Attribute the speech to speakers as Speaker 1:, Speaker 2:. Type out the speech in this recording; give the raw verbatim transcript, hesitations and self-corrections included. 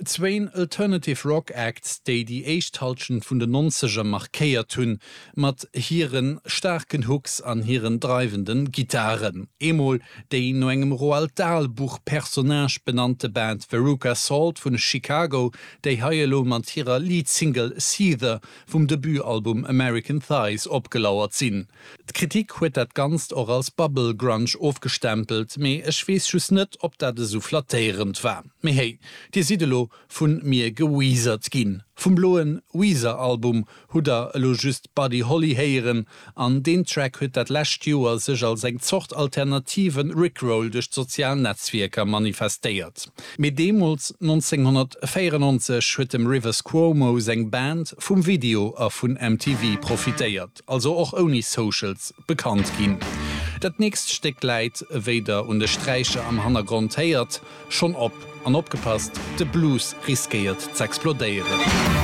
Speaker 1: Zwéin Alternative Rock Acts, déi déi éischt Hallschent vun den Nonzeger markéiert hunn, mat hire staarken Hooks an hiren dreiwende Gittaren. Eemol déi no engem Roald Dahl Buch-Personnage benannte Band Veruca Salt vun Chicago, déi hei elo mat hirer Lead-Single Seether vum Debutalbum American Thighs opgelauert sinn. D'Kritik huet dat Ganzt och als Bubble-Grunge ofgestempelt, mee ech weess just net, ob dat esou flattéierend war. Mee hey, dir sidd elo vu mir geweezert ginn. Vum bloen Weezer-Album hutt der elo just Buddy Holly héieren, an deen Track huet dat lescht Joer sech als eng Zort alternativen Rickroll duerch d'sozial Netzwierker manifestéiert. Mee deemools, nonzénghonnertvéierennonzeg, huet dem Rivers Cuomo seng Band vum Video a vun M T V profitéiert, also och ouni Socials bekannt ginn. Dat nächst Stéck läit, wéi der un de Sträicher am Hannergrond héiert, schonn op. An opgepasst, de Blues riskéiert z'explodéieren.